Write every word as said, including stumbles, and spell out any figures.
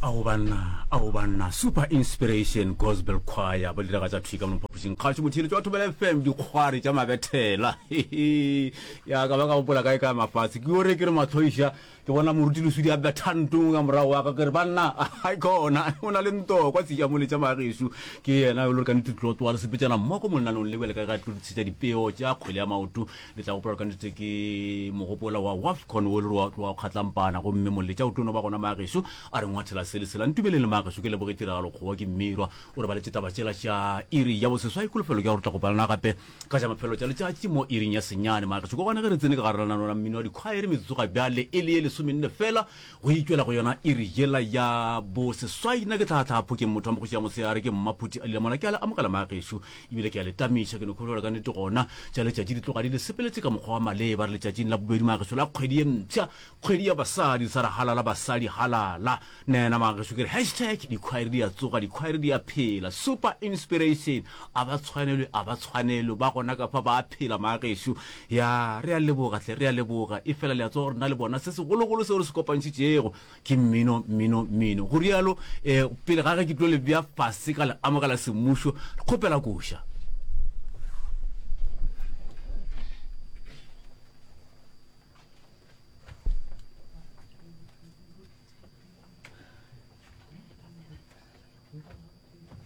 Ao banna, ao banna, Super Inspiration Gospel Choir ba diragatša thwi ka mono phapošing kgašo motheeletši wa Thobela F M, dikgwari tša mabethela. Ya ka ba ka gopola kae kae mafase. Ke yo re ke re mahloiša, ke bona moruti Lesudi a betha ntong ka morago wa ka, ke re banna, ai khona, o na le ntokwa tšija mo letša magešo. Ke yena yo le re ka nnete tlo tloga re sepetšana mmogo mo lenanong le bjale ka ge a tlo re tlišetša dipeo tša kgwele ya maoto. Le tla gopola gore ka nnete ke mogopola wa WAFCON wo le re wa tloga o kgatlampana, gomme moletša o tlo no ba gona magešo a re ngwathela se le sela. Ntumeleng le magešo ke leboge tiragalo kgowa ke mmirwa o re baletše taba tšela tša iri ya boseswai. Kholofelo ke ya gore tla kopana gape ka tša maphelo tša letšatši mo iring ya senyane magešo. Ke gona ge re tsene ka gare lenaneo la mmino wa dikhwaere metsotso ga bjale e le ye lesomenne fela go itšwela go yona iri yela ya boseswai. Nna ke tlhatlha phokeng motho wa mokgoši ya mosegare ke Mmaphuti a lila mola ke a le amogela magešo ebile ke a le tamiša. Ke no kholofela ka nnete gona tša letšatši di tloga di le sepeletše ka mokgwa wa maleba. Re letšatšing la bobedi magešo la kgwedi ye mpsha, kgwedi ya basadi, sa re halala basadi halala. Nena magešo ke re hashtag dikhwaere di a tsoga, dikhwaere di a phela. Super Inspiration a ba tshwanelwe, a ba tshwanelwe, ba gona ka fa ba a phela magešo. Ya re a leboga hle, re a leboga. E fela le a tseba gore nna le bona se segologolo seo re se kopantšhitšego ke mmino, mmino, mmino. Go rialo eh, pele ga ge ke tlo le bea fase ka le amogela semmušo, re kgopela koša.